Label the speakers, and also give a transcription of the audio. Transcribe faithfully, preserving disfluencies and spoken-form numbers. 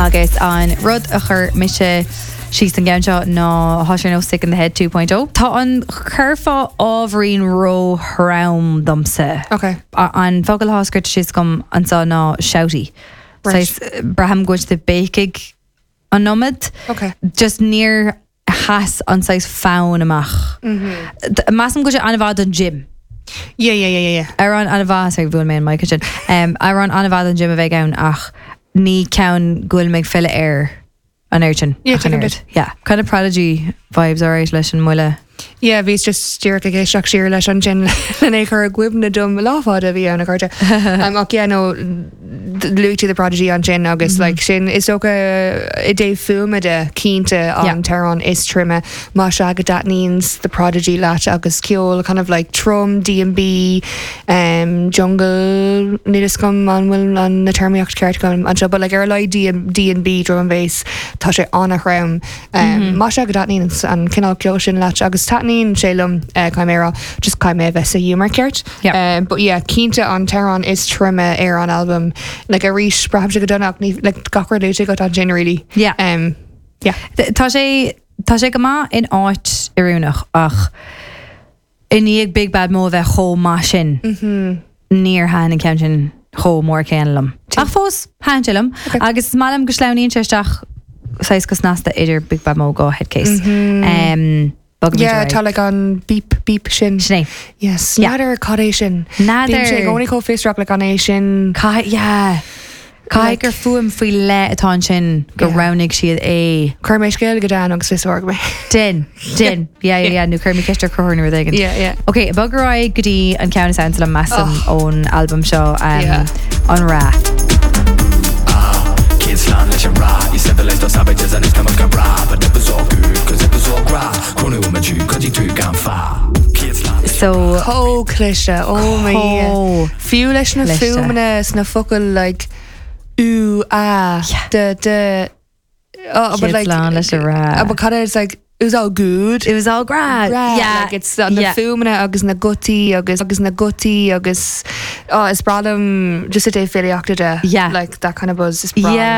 Speaker 1: Agus an rud a chuir mise síos an gceann seo ná tá sé nó Sick in the Head two point oh. Tá an curfá ábhairín ró-throm domsa.
Speaker 2: Okay.
Speaker 1: A- An focal atá scríte síos agam anseo ná shouty.
Speaker 2: Right.
Speaker 1: Braithim go bhfuil béicigh an iomad.
Speaker 2: Okay.
Speaker 1: Just níor sheas an saghas fonn amach. D- Measaim go bhfuil sé an-mhaith don gym.
Speaker 2: Yeah, yeah, yeah, yeah, yeah.
Speaker 1: Amhrán an-mhaith, sorry, bhuail mé an mic sin. Um, amhrán an-mhaith don gym a bheidh ann, ach ní ceann go bhfuil mé ag filleadh air an air sin.
Speaker 2: Yeah,
Speaker 1: ach an
Speaker 2: tuigim
Speaker 1: oiread.
Speaker 2: duit.
Speaker 1: Yeah, kind of Prodigy vibes, alright, leis an mbuille.
Speaker 2: Yeah, bhí just díreach ag éisteacht siar leis an sin lena chur i gcuimhne dom lá fada bhí ann a chuirte. Um, ach yeah, no, luaigh tú The Prodigy ansin agus mm -hmm. like, sin is dócha i dtaobh fuaime de cinnte an
Speaker 1: Yeah.
Speaker 2: t-amhrán is troime. Má sea go dtaitníonn The Prodigy leat agus ceol kind of like trom D and B, um, jungle, níl a fhios agam an bhfuil an na téarmaíocht ceart agam anseo, but like ar like D and B, drum and bass, tá sé an-throm um, mm -hmm. Má sea go dtaitníonn an cineál ceol sin leat, agus taitníonn sé liom, uh, caithfidh mé rá, just caithfidh mé bheith sa ghiúmar ceart.
Speaker 1: Yeah.
Speaker 2: Um, but yeah, cinnte an t-amhrán is troime ar an album, like arís braithimse go dona ní like gach rud luaite agat ansin, really.
Speaker 1: Yeah.
Speaker 2: Um, yeah.
Speaker 1: Th- Tá sé tá sé go maith in áit oiriúnach, ach i ndiaidh Big Bad Mo a bheith chomh maith sin, níor thaitin an ceann sin chomh mór céanna liom. Ach fós thaitin sé liom agus is maith liom go sleamhnaíonn sé isteach saghas go snasta idir Big Bad Mo go Headcase. Um, bogfaimid
Speaker 2: Yeah,
Speaker 1: ar aghaidh.
Speaker 2: tá like an beep beep sin.
Speaker 1: Sin é.
Speaker 2: Yes,
Speaker 1: Yeah.
Speaker 2: N'fheadar cad é sin.
Speaker 1: N'fheadar.
Speaker 2: Bím sé i gcónaí chomh fiosrach le an é sin.
Speaker 1: Caithfidh, yeah. Caithfidh gur fuaim faoi leith atá ansin go
Speaker 2: Yeah.
Speaker 1: roghnaigh siad é.
Speaker 2: Cuir mé scéal go Dan agus fiosróidh mé.
Speaker 1: Din, din, yeah, yeah, yeah, nó cuir mé ceist ar Conchúr nó rud éigin.
Speaker 2: Yeah, yeah.
Speaker 1: Ok, bog ar aghaidh go dtí an ceann is ansa liom, measaim, ón album seo, um,
Speaker 2: Yeah.
Speaker 1: An Rath.
Speaker 3: Kids slán leis an rath. You civilized those savages and it's come go bra. But it was all good 'cause it was all gra. Cronu ma tú cudí tú gan fa. Kids slán leis
Speaker 1: So
Speaker 2: Chomh cliste, ó my.
Speaker 1: Chomh
Speaker 2: Fiú leis na
Speaker 1: cliste.
Speaker 2: fuaimeanna sna focail, like ú a de de oh, but
Speaker 1: Kids
Speaker 2: like
Speaker 1: slán leis an rath.
Speaker 2: uh, but kind of it's like it was all good.
Speaker 1: It was all gra.
Speaker 2: Gra,
Speaker 1: Yeah.
Speaker 2: like it's uh, na
Speaker 1: yeah.
Speaker 2: fuaimeanna agus na gutaí agus agus na gutaí agus, oh, is breá liom just a dé filíochta de
Speaker 1: Yeah.
Speaker 2: like that kind of buzz, is breá liom
Speaker 1: Yeah.
Speaker 2: é.